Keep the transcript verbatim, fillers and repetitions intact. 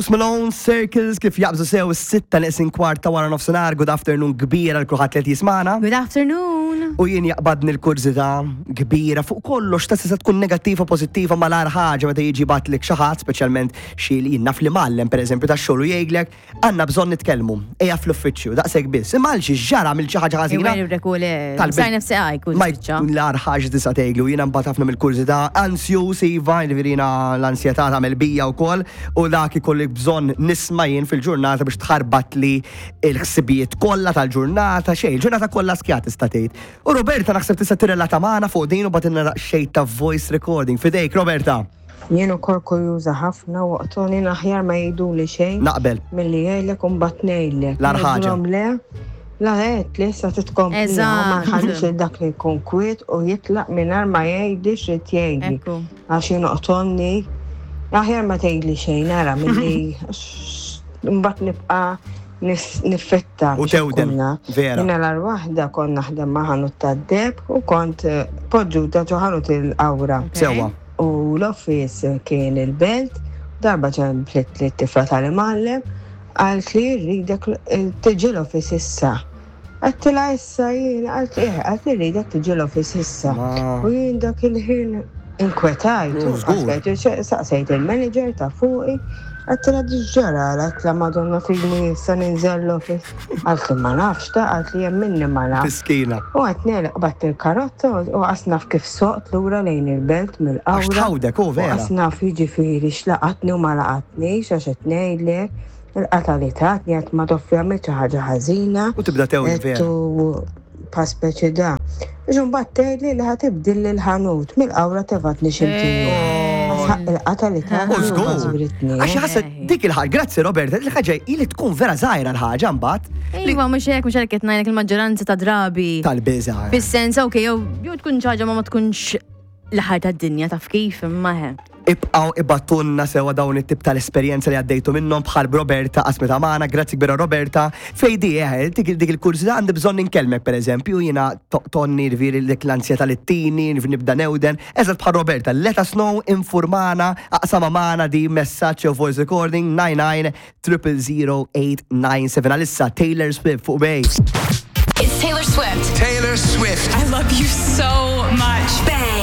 Post Malone, Circles, kif jaqbżu sew is-sitta neqsin kwart ta' wara nofsinhar. Good afternoon kbira lil kulħadd li qed jismagħna. Good afternoon. U jien jaqbadni l-kurżità kbira fuq kollox, ta' tista' tkun negattiva, pożittiva, ma l-agħar ħaġa meta jiġi jibgħatlek xi ħadd, speċjalment xi li jien naf li mgħallem, pereżempju, tax-xogħol, u jgħidlek, "Għandna bżonn nitkellmu, ejja fl-uffiċċju," daqshekk biss. Imma għal xi ġara mill xi ħaġa ħażina. Tal- Sar nifsi għaj, kull Ma spiċċa. jkun l-agħar ħaġa tista' tgħidlu, jiena mbagħad ħafna mill-kurżità, ansjus, iva, jiġifieri jiena l-ansjetà tagħmel bija wkoll, u dak ikolli bżonn nisma' jien fil-ġurnata biex tħarbat li l-ħsibijiet kollha tal-ġurnata, xejn, il-ġurnata kollha skjat tista' tgħid. U Roberta naħseb tista' tirrelata magħna fuq din u bagħtilna xejn ta' voice recording. Fidejk, Roberta. Jien ukoll kurjuża ħafna u waqtoni aħjar ma jgħiduli xejn Naqbel. milli jgħidlek u mbagħad ngħidlek. L-agħar ħaġa. Ngħidilhom le, la għedt li issa titkompli Eżatt. ma nħallix lil dak li jkun kwiet u jitlaq mingħajr ma jgħidli x'rid jgħidli. Ekku. Għax jien oqtonni aħjar ma tgħidli xejn, ara, milli mbagħad nibqa' nis- niffetta. U biex tewden, ikun naf. Vera. Jiena l waħda kont naħdem ma' ħanut tad-deheb u kont eh, poġġuta ġo ħanut il-Qawra. Sewwa. U l-office kien il-Belt, darba ċemplet li t-tifla tal-imgħallem, qaltli, "Rridek tiġi l-office issa." Għedtilha, "Issa jien?" Qaltli, "Eh," qaltli, "rridek tiġi l-office issa." Ma- U jien dak il-ħin inkwetajt. Mm, żgur. Għax Saqsejt il-manager ta' fuqi, għedtilha, "X'ġara?" Għedtilha, "Madonna fini, issa ninżel l-office." Qaltli, "Ma nafx ta'," qaltli, "minni ma nafx." Miskina. U għedt nelaq, qbadt il-karozza u qas naf kif soqt lura lejn il-Belt mill-Qawra. Għax tħawdek, u vera. U qas naf jiġifieri x'laqatni u ma laqatnix, għax qed ngħidlek il-qata li tatni, għedt ma toffi għamilt xi ħaġa ħażina. U tibda tewli, vera. U pa speċi da. Biex mbagħad tgħidli li ħa tibdilli l-ħanut, mill-Qawra tefgħetni x'imkien. Il-qata li tatni U u żgur. bażwritni. Għax ħasset dik il-ħaġa, grazzi Roberta, il-ħaġa ili tkun vera żgħira l-ħaġa mbagħad. li- Iva, mhux hekk, mhux hekk qed ngħidlek il-maġġoranza ta' drabi. Tal-biża. Fis-sens, ok, jew jew tkun xi ħaġa ma ma tkunx l-aħħar tad-dinja, taf kif, imma he. Ibqaw ibgħatulna sewa dawn it-tip tal-esperjenza li għaddejtu minnhom bħal Roberta qasmet magħna, grazzi kbira, Roberta. Fej di eh, dik dik il-kurżità, għandi bżonn inkellmek, pereżempju, jiena tonni rviri dik l-ansjetà li ttini, nibda newden. Eżatt bħal Roberta, let us know, informana, aqsama magħna di messaġġ jew voice recording nine nine zero zero eight nine seven. Għalissa Taylor Swift fuq Bay. It's Taylor Swift. Taylor Swift. I love you so much. Bang.